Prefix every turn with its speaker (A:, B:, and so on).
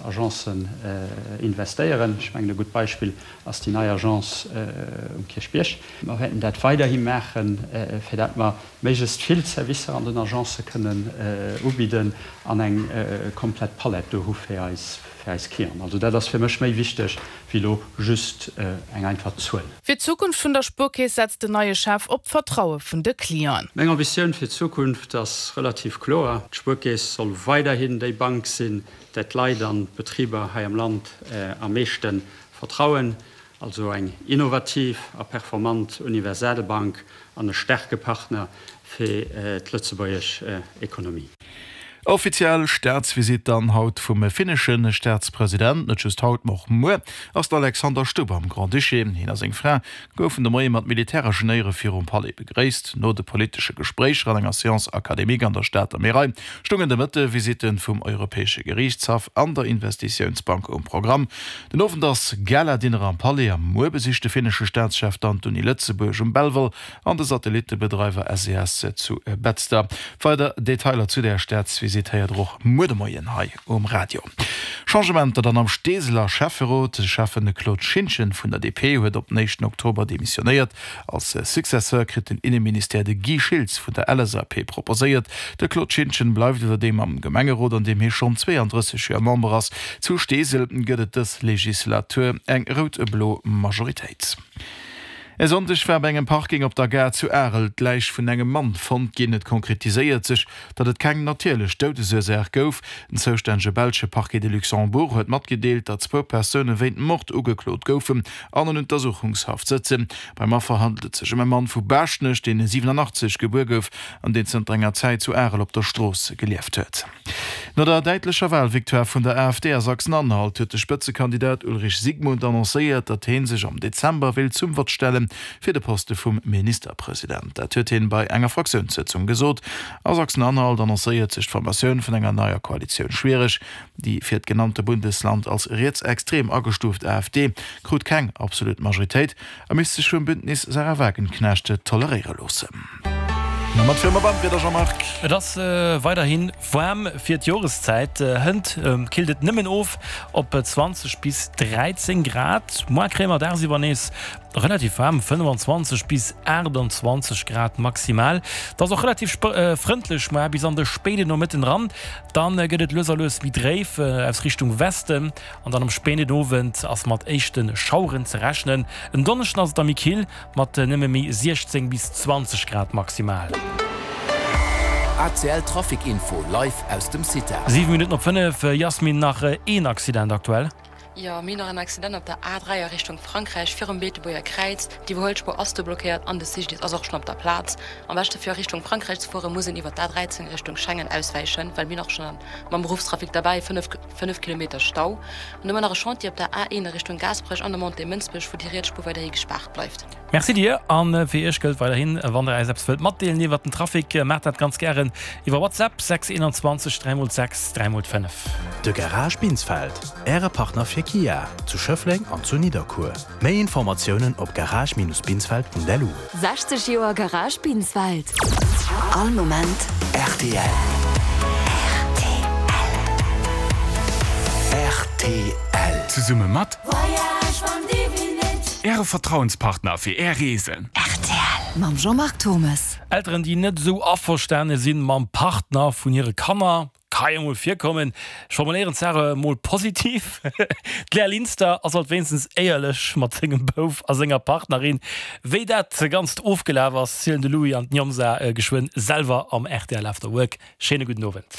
A: Agencen investéieren. Ech mengen, e gutt Beispill ass déi nei Agence um Kierchbierg. Mer wäerten dat weiderhi maachen, fir dat mer méiglechst vill Servicer an den Agencë kënnen ubidden an eng komplett Palett do hu fir eis Clienten. Also dat ass fir mech méi wichteg wéi elo just eng einfach Zuel.
B: Fir d'Zukunft vun der Spuerkeess setzt den neie Chef op d'Vertraue vun de Clienten.
A: Meng Ambitioun fir d'Zukunft ass relativ kloer, D'Spuerkeess soll weiderhin déi Bank sinn, där d'Leit an d'Betriber hei am Land am meeschte vertrauen. Also eng innovativ a performant Universalbank an e staarke Partner fir d'lëtzebuergesch Ekonomie.
C: Offiziell Staatsvisitt dann haut vum finnesche Staatspresident. Net just haut, ma och muer ass den Alexander Stubb am Grand-Duché. Hien a seng Fra goufen de Moie mat militäreschen Éiere virum Palais begréisst. No de politesche Gespréicher an enger Séance académique an der Stater Märei stungen de Mëtte Visitte vum Europäesche Geriichtshaff an der Investitiounsbank um Programm. Den Owend ass Gala-Dinner am Palais a muer besicht de finnesche Staatschef dann d'Uni Lëtzebuerg um Belval an de Satellittebedreiwer SES zu Betzder. Weider Detailer zu där Staatsvisitt héiert der och muer de Moien hei um Radio. Changementer dann am Steeseler Schäfferot, De Schäffen Claude Schintgen vun der DP huet op den éischten Oktober demissionéiert. Als Successeur kritt den Inneministère de Guy Schiltz vun der LSAP proposéiert. De Claude Schintgen bleift iwwerdeem am Gemengerot, an deem hie schonn 32 Joer Member ass. Zu Steesel gëtt et dës Legislatur eng rout-blo Majoritéit. E Sonndeg war bei engem Parking op der Gare zu Arel d'Läich vun engem Mann fonnt ginn. Et konkretiséiert sech, datt et keng natierlech Doudesursaach gouf. Den zoustännege belsche Parquet de Luxembourg huet matgedeelt, datt zwou Persoune wéint Mord ugeklot goufen an an Untersuchungshaft sëtzen. Beim Affer handelt et sech ëm e Mann vu Baaschtnech, deen 87 gebuer gouf an deen zënter enger Zäit zu Arel op der Strooss gelieft huet. No der däitlecher Walvictoire vun der AfD a Sachsen-Anhalt huet de Spëtzekandidat Ulrich Siegmund annoncéiert, datt hee sech am Dezember wéilt zum Vott stelle fir de Poste vum Ministerpresident. Dat huet hien bei enger Fraktiounssëtzung gesot. A Sachsen-Anhalt annoncéiert sech d'Formatioun vun enger neier Koalitioun schwiereg. Déi fir d'genannte Bundesland als rietsextrem agestuuft AfD krut keng absolut Majoritéit a misst sech vum Bündnis Sarah Wagenknecht toleréiere loossen. Na mat viru mer beim Wieder, Jean-Marc.
D: Et ass weiderhi waarm fir d'Joreszäit. Hënt killt et nëmmen of op 20 bis 13 Grad. Moar kréie mer dagsiwwer nees relativ waarm 25 bis 28 Grad maximal. Et ass och relativ frëndlech moar bis an de spéiden Nomëtten eran. Dann gëtt et lues a lues méi dréif aus Richtung Westen. An dann am spéiden Owend ass mat éischte Schaueren ze rechnen. En Donneschden ass et da méi kill, mat nëmme méi 16 bis 20 Grad maximal.
E: ACL Trafic Info live aus dem CITA.
D: 7 Minutten op 5, Yasmine, nach een Accident aktuell?
F: Jo, mir hunn nach en Accident op der A3 a Richtung Frankräich virum Beetebuerger Kräiz. D'Iwwerhuelspuer ass do blockéiert an de CGDIS ass och schonn op der Plaz. Am beschte fir a Richtung Frankräich ze fueren, muss een iwwer d'A13 Richtung Schengen auswäichen, well mir hunn och schonn mam Beruffstrafic derbäi 5. 5 Kilometer Stau an ëmmer nach e Chantier op der A1 a Richtung Gaasperech an der Montée Mënsbech, wou déi riets Spuer weiderhi gespaart bleift.
D: Merci dir an fir iech gëllt weiderhin, wann der äis eppes wëllt matdeelen iwwert den Trafic, maacht dat ganz gären iwwer WhatsApp 6 21 3 x 6 3 x 5.
E: De Garage Binsfeld, Äre Partner fir Kia zu Schëffleng an zu Nidderkuer. Méi Informatiounen op garage-binsfeld.lu.
G: 60 Joer Garage Binsfeld. All Moment.
E: Rtl. Rtl.
H: Zesumme mat.
G: Voyage van Divinit.
H: Äre Vertrauenspartner fir Är Reesen.
G: Rtl. Mam Jean-Marc Thommes.
D: Elteren, déi net esou averstane sinn mam Partner vun hire Kanner, Ka jo mol virkommen. Ech formuléieren d'Saach emol positiv, D'Lea Linster ass alt wéinstens éierlech mat sengem Bouf a senger Partnerin. Wéi dat Ganzt ofgelaf ass, zielen de Louis an d'Njomsa geschwënn selwer am rtl After Work. Schéine gudden Owend.